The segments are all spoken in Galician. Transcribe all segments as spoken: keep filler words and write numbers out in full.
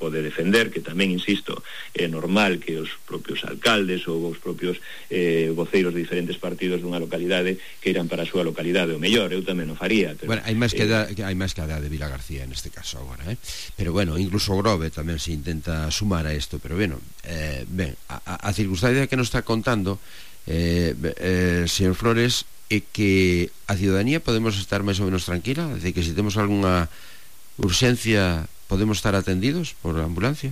pode defender, que tamén, insisto, é normal que os propios alcaldes ou os propios eh, voceiros de diferentes partidos dunha localidade que irán para a súa localidade o mellor, eu tamén o faría, pero, bueno, hai máis que, eh, da, hai máis que a da de Vilagarcía neste caso agora, eh? Pero bueno, incluso o Grove tamén se intenta sumar a isto, pero bueno, eh, ben, a, a circunstancia que nos está contando eh, eh, señor Flores, é que a ciudadanía podemos estar máis ou menos tranquila, é dicir, que se temos algunha urxencia podemos estar atendidos por ambulancia.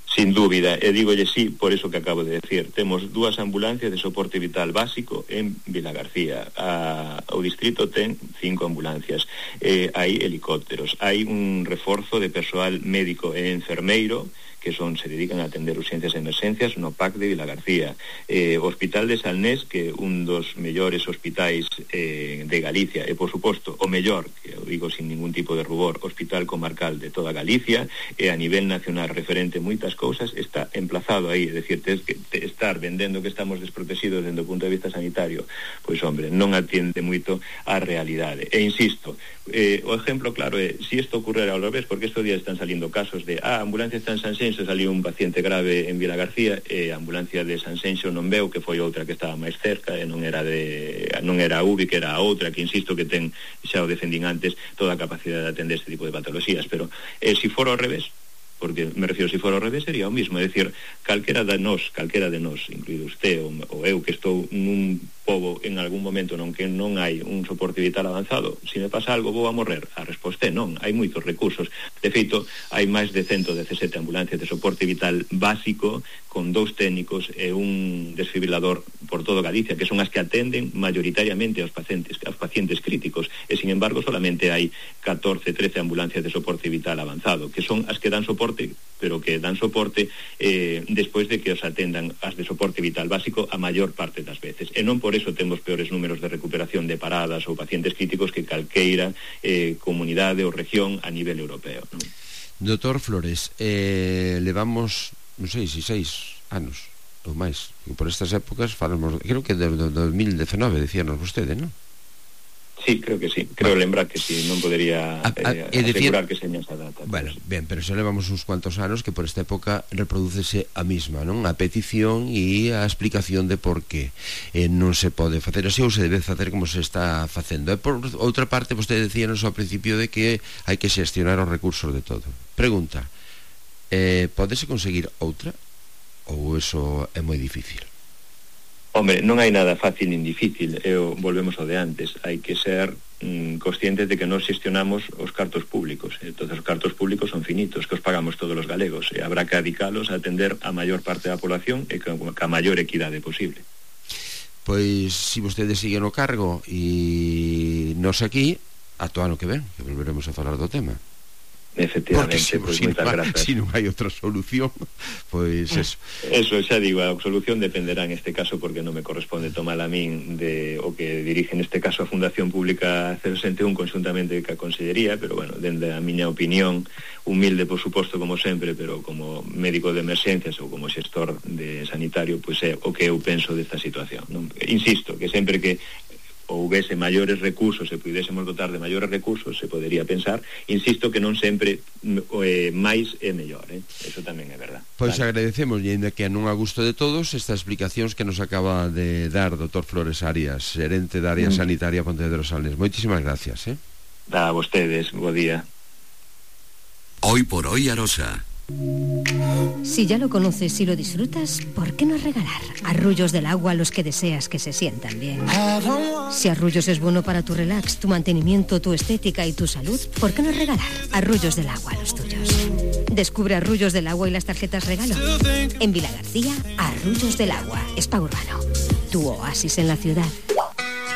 Sin dúbida, e dígolle sí, por eso que acabo de decir. Temos dúas ambulancias de soporte vital básico en Vilagarcía. A, o distrito ten cinco ambulancias. Eh, hai helicópteros, hai un reforzo de persoal médico e enfermeiro que son se dedican a atender urxencias e emerxencias no P A C de Vilagarcía. Eh, o Hospital de Salnés, que é un dos mellores hospitais eh, de Galicia, e por suposto o mellor, que eu digo sin ningún tipo de rubor, hospital comarcal de toda Galicia, e a nivel nacional referente moitas cousas, está emplazado aí, é dicir, tens que te estar vendendo que estamos desprotegidos dende o punto de vista sanitario, pois hombre, non atiende moito á realidade. E insisto, eh, o exemplo claro é, se isto ocurrera ao revés, porque estes días están salindo casos de, ah, a ambulancia está en Sanxenxo, saliu un paciente grave en Vilagarcía e a ambulancia de Sanxenxo non veu, que foi outra que estaba máis cerca e non era de non era a U B I, que era a outra, que insisto que ten, xa o defendín antes, toda a capacidade de atender este tipo de patologías, pero eh, se for ao revés, porque me refiero, se for ao revés sería o mismo, é dicir, calquera de nós, calquera de nós, incluído usted ou, ou eu, que estou nun pobo en algún momento non que non hai un soporte vital avanzado, se me pasa algo vou a morrer. A resposta é non, hai moitos recursos. De feito, hai máis de ciento dezasete ambulancias de soporte vital básico con dous técnicos e un desfibrilador por todo Galicia, que son as que atenden mayoritariamente aos pacientes, aos pacientes críticos, e sin embargo solamente hai catorce, trece ambulancias de soporte vital avanzado, que son as que dan soporte, pero que dan soporte eh, despois de que os atendan as de soporte vital básico a maior parte das veces. E non por eso temos peores números de recuperación de paradas ou pacientes críticos que calqueira eh, comunidade ou región a nivel europeo, non? Doutor Flores, eh, levamos, non sei se seis anos ou máis, por estas épocas falamos, creo que do, do dos mil dezenove decíanos vostede, non? Sí, creo que sí, creo bueno. lembrar que sí, non podería eh, a, asegurar que seña esa data. Bueno, pues. Ben, pero xa levamos uns cuantos anos que por esta época reprodúcese a mesma, non? A petición e a explicación de por qué eh, non se pode facer así ou se debe facer como se está facendo. E por outra parte, vostede decíanos ao principio de que hai que xestionar os recursos de todo. Pregunta, eh, podese conseguir outra ou eso é moi difícil? Hombre, non hai nada fácil nin difícil, eu, volvemos ao de antes, hai que ser mm, conscientes de que non xestionamos os cartos públicos, entón os cartos públicos son finitos, que os pagamos todos os galegos, e habrá que adicalos a atender a maior parte da población e ca, ca maior equidade posible. Pois, se vostede sigue no cargo e nos aquí, ata o ano que ven, que volveremos a falar do tema. Efectivamente, porque pois si, moitas no, grazas. Si non hai outra solución, pois eso. Eso, xa digo, a solución dependerá en este caso, porque non me corresponde tomar a min de o que dirige neste caso a Fundación Pública cero sesenta e un conjuntamente ca Consellería, pero bueno, dende a miña opinión, humilde por suposto como sempre, pero como médico de emerxencias ou como xestor de sanitario, pois é o que eu penso desta situación, non? Insisto, que sempre que houvese maiores recursos e pudésemos dotar de maiores recursos, se podería pensar, insisto que non sempre eh, máis é mellor, eh? Eso tamén é verdad. Pois vale. Agradecemos, e ainda que non a gusto de todos, estas explicacións que nos acaba de dar doutor Flores Arias, xerente da área mm. sanitaria Pontevedra Salnés. Moitísimas gracias, eh? A vostedes, bo día. Hoy por hoy Arosa. Si ya lo conoces y lo disfrutas, ¿por qué no regalar arrullos del agua a los que deseas que se sientan bien? Si Arrullos es bueno para tu relax, tu mantenimiento, tu estética y tu salud, ¿por qué no regalar arrullos del agua a los tuyos? Descubre Arrullos del Agua y las tarjetas regalo. En Vilagarcía, Arrullos del Agua, Spa Urbano, tu oasis en la ciudad.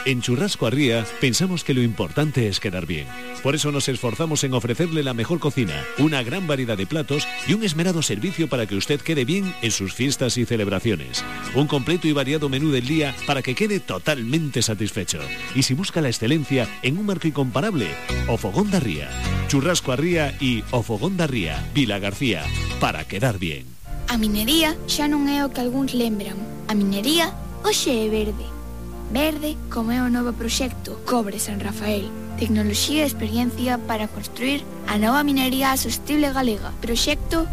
En Churrasco Arría pensamos que lo importante es quedar bien. Por eso nos esforzamos en ofrecerle la mejor cocina, una gran variedad de platos y un esmerado servicio para que usted quede bien en sus fiestas y celebraciones. Un completo y variado menú del día para que quede totalmente satisfecho. Y si busca la excelencia en un marco incomparable, O Fogón da Ría. Churrasco Arría y O Fogón da Ría, Vilagarcía, para quedar bien. A minería xa non é o que algúns lembran. A minería hoxe é verde. Verde como é o novo proxecto Cobre San Rafael. Tecnoloxía e experiencia para construir a nova minería sostible galega. Proxecto